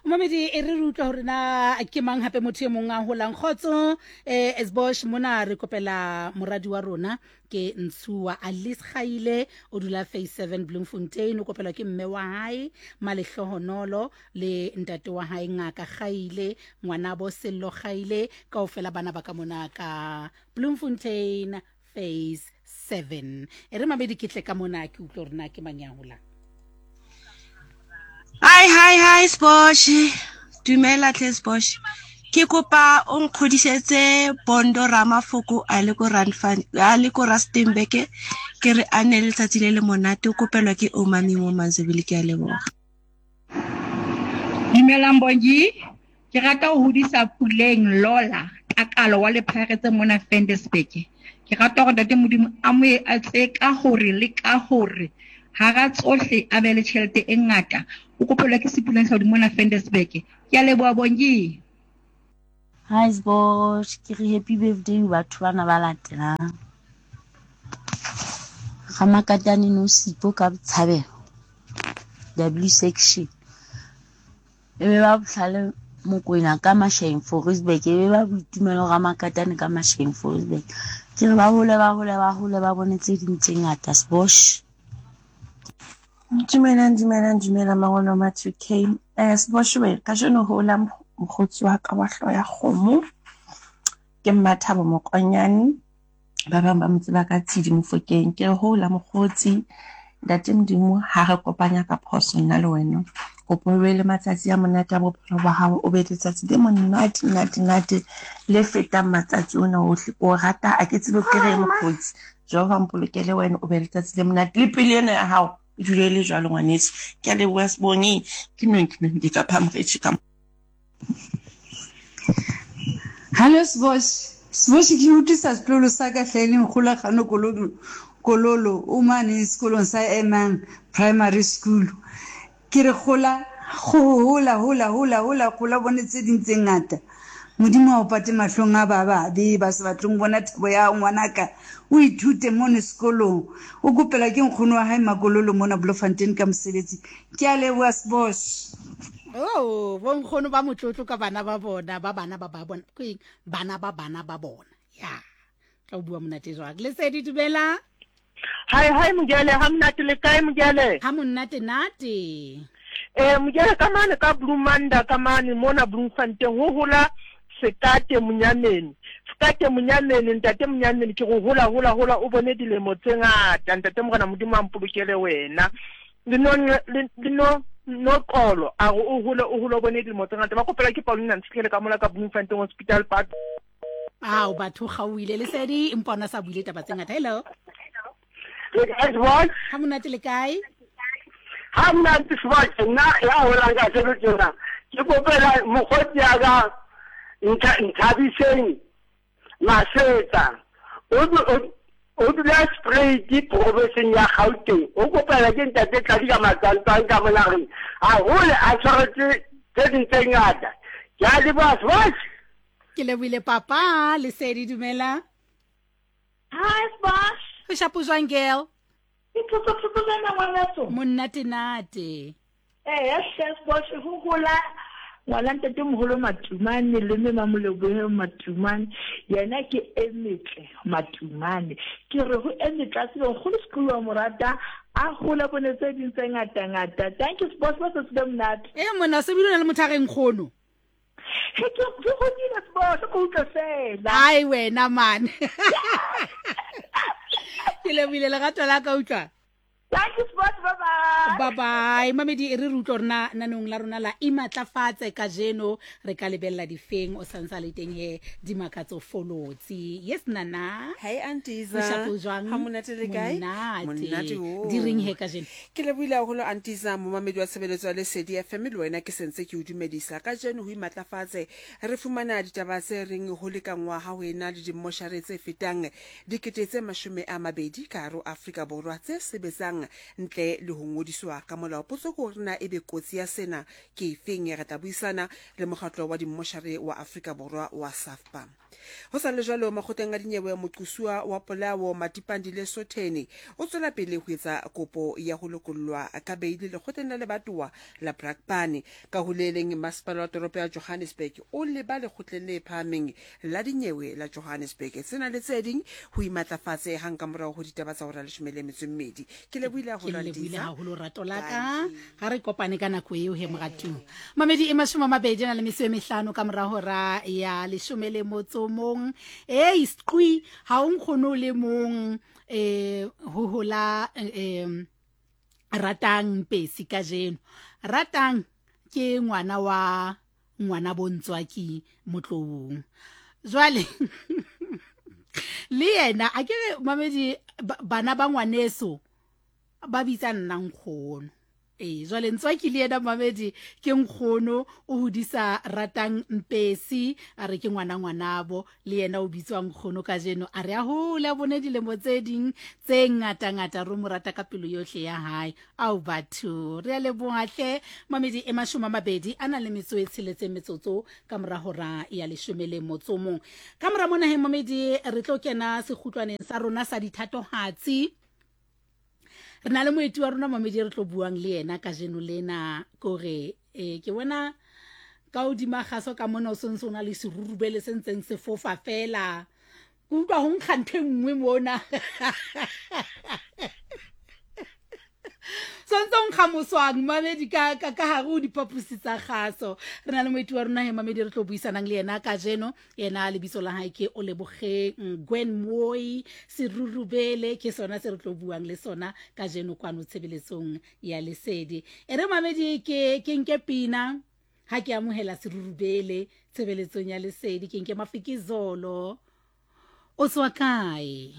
Momedi e re re utlwa hore na ke mang hape motho e mong a holang kgotso eh Esbosh mona re kopela moradi wa rona ke Ntshuwa Alice Kgaile o dula phase 7 Bloemfontein o kopelwa ke mme wa hae Malehlohonolo le ntate wa hae Ngaka Kgaile ngwanabo Sello Kgaile kaofela bana ba ka mona ka Bloemfontein phase 7 e re mamedi ke tle ka mona ke utlwe gore na ke mang ya holang. Hi hi hi Sbosh. Dumela tle Sbosh. Ke kopa o nkgodisetse Bondo Ramafoko a le ko Randfan a le ko Rustenburg ke re a ne letsatsi le le monate o kopelwa ke Omami mo Manzebele ke a leboga. Dumelang Bongi, ke rata ho hodisa Puleng Lola Takalo wa Lepharetse mona Fendesburg. Ke rata hore Ntate Modimo a mo etse ka hore le ka hore hara tsohle a be le tjhelete e ngata. O kopelwa ke Sepuleng Hlaudi mona Fendesburg. Ke a leboha Bongi. Hi Sbosh, ke re happy birthday ho batho bana ba latelang. Ramakatane Nosipho ka Botshabelo, W section. E be ba Bohlale Mokwena ka Masheng Forisburg, e be ba Boitumelo Ramakatane ka Masheng Forisburg. Ke re ba hole ba hole ba hole ba bone tse ding tse ngata Sbosh. Dumelang, dumelang, dumelang mangolo ma 2K. Eh, Siboshiwe, kajeno ho la mokgotsi wa ka wa hlooho ya kgomo. Ke Mmathabo Mokonyane. Ba bang ba mo tseba ka Tshidi Mofokeng. Ke re ho la mokgotsi, Ntate Modimo ha re kopanya ka phoso nna le wena. Kopo o be le matsatsi a monate a bophelo ba hao, o be letsatsi le monate, nate, nate le fetang matsatsi ona ohle. Ke o rata, ha ke tsebe ke reng mokgotsi. Jehova mpolokele wena o be letsatsi le monate le pelo ena ya hao e dule e le jwalo ngwaneso. Ke a leboha Sebongi. Ke nong ke nong ke ka phamgetše ka Hallo Sbosh. Sbosh ke utlwisa setlolo sa ka hle e leng Kgolagano Kololo Kololo o mane sekolong sa Emang Primary School. Ke re gola, gola, hola, hola, hola, gola, bone tse ding tse ngata. Modimo a o pate mahlong a ba babe ba sa batleng bona thabo ya hao ngwanaka. O ithute mono sekolong. O kopelwa ke nkgono wa hae Makololo mona Bloemfontein ka mosebetsi. Ke a leboha Sbosh. Oh, bonkgono ba motlotlo ka bana ba bona, ba bana ba ba bona. Ke eng? Bana ba bana ba bona. Ya. Tla o bua monate jwang. Lesedi dumela. Hi hi Mojele, ha monate le kae Mojele? Ha monate nate. Eh Mojele ka mane ka Bloemanda ka mane mona Bloemfontein ho hola Sekate Monyameni. Sekate Monyameni, ntate Monyameni ke go hola hola hola o bone dilemo tse ngata ntate Morena Modimo a mpolokele wena. Le no le no noxolo a re o hole o hole o bone dilemo tse ngata ba kopela ke Paulina Ntshitlhele ka mola ka Bloemfontein Hospital Park. Ao batho gauile lesedi empa ona sa buile taba tse ngata. Hello. Le kae Sbosh? Ha monate le kae? Ha monate Sbosh, nna ya holang ka seno tjena. Ke kopela mokgotsi ya ka Nthabiseng Masetsa. O o dula Spruit provinseng ya Gauteng. O kopela ke ntate Tladi ka Matswantswang ka monageng. Haholo a tshwaretse tse ding tse ngata. Ke a leboha Sbosh. Ke lebohile papa Lesedi dumela. Hi Sbosh. Go shapo jwang girl? Ke thotho thotho jana ngwaneso. Monate nate. Eh hle Sbosh go gola ngwana ntate moholo Matumane le mme Mamolebohe Matumane yena ke e metle Matumane ke re ho e metle a tsebe nkgono Sekolo wa morata a hole bone tse ding tse ngata ngata thank you Sbosh ba tsatsi le monate. Eh monna se bile o na le motho a reng nkgono. He ke ke godile Sbosh ko utlwe fela. Ai wena man. Ke lebohile lerato la ka utlwa. Thank you Sbosh bye bye. Bye bye. Mamedi e re re utlwa rona nanong la rona la imatlafatse kajeno re ka lebella difeng o santsa le teng he dimakatso folotsi. Yes nana. Hey Antiza. Moshapo jwang? Ha monate le kae? Monate. Monate o. Di reng he kajeno? Ke lebohile haholo Antiza, momamedi wa tshebeletso ya Lesedi FM le wena ke sentse ke o dumedisa. Kajeno ho imatlafatse re fumana ditaba tse reng ho lekanngwa ha ho ena le dimmoshare tse fetang 20 000 ka hare ho Afrika Borwa tse sebetsang rekisang ntle le ho ngodiswa ka molao. Potso ke hore na ebe kotsi ya sena ke efeng? Re tla buisana le mokgatlo wa dimmoshare wa Afrika Borwa wa SAFPA. Ho sa le jwalo, makgotleng a dinyewe moqosuwa wa polao Matipandile Sotheni o tswela pele ho etsa kopo ya ho lokollwa ka beili lekgotleng la lebatowa la Brakpan. Ka ho le leng, masepala wa toropo ya Johannesburg o leba lekgotleng le phahameng la dinyewe la Johannesburg. Tsena le tse ding ho imatlafatse hang ka morao ho ditaba tsa hora leshome le metso e mmedi. Ke lebohile Ke haholo lebohile Andisa. haholo rato la ka. Ga re kopane ka nako eo he moratuwa. Mamedi e mashome a mabedi a na le metso e mehlano ka mora hora ya leshome le motso mong. Ei sqwi ha o nkgono o le mong eh ho hola eh ratang pesi kajeno. Ratang ke ngwana wa ngwana bontswaki motloung. Jwale le yena a ke re mamedi bana ba ngwaneso ba bitsa nna nkgono. Ee, jwale Ntswaki le yena mamedi ke nkgono o hodisa ratang Mpesi a re ke ngwana ngwanabo le yena o bitswa nkgono kajeno a re a hole a bone dilemo tse ding tse ngata-ngata re mo rata ka pelo yohle ya hae ao batho re a leboha hle mamedi e mashome a mabedi a na le metso e tsheletseng metsotso ka mora hora ya leshome le motso mong ka mora mona he mamedi re tlo kena sekgutlwaneng sa rona sa dithatohatsi re na le moeti wa rona mamedi re tlo buang le yena kajeno lena kore e ke bona ka hodima kgaso ka mona o sentse o na le serurubele se ntseng se fofa fela ke utlwa go nkga ntho e nngwe mona santse o nkga moswang mamedi ka ka ka gare o dipaposi tsa kgaso re na le moeti wa rona he mamedi re tlo buisanang le yena kajeno Yena lebitso la hae ke Olebogeng Gwen Moi Serurubele, ke sona se re tlo buang le sona kajeno kwano tshebeletsong ya Lesedi. E re mamedi ke ke nke pina ha ke amohela Serurubele tshebeletsong ya Lesedi, ke nke Mafikizolo. O tswa kae?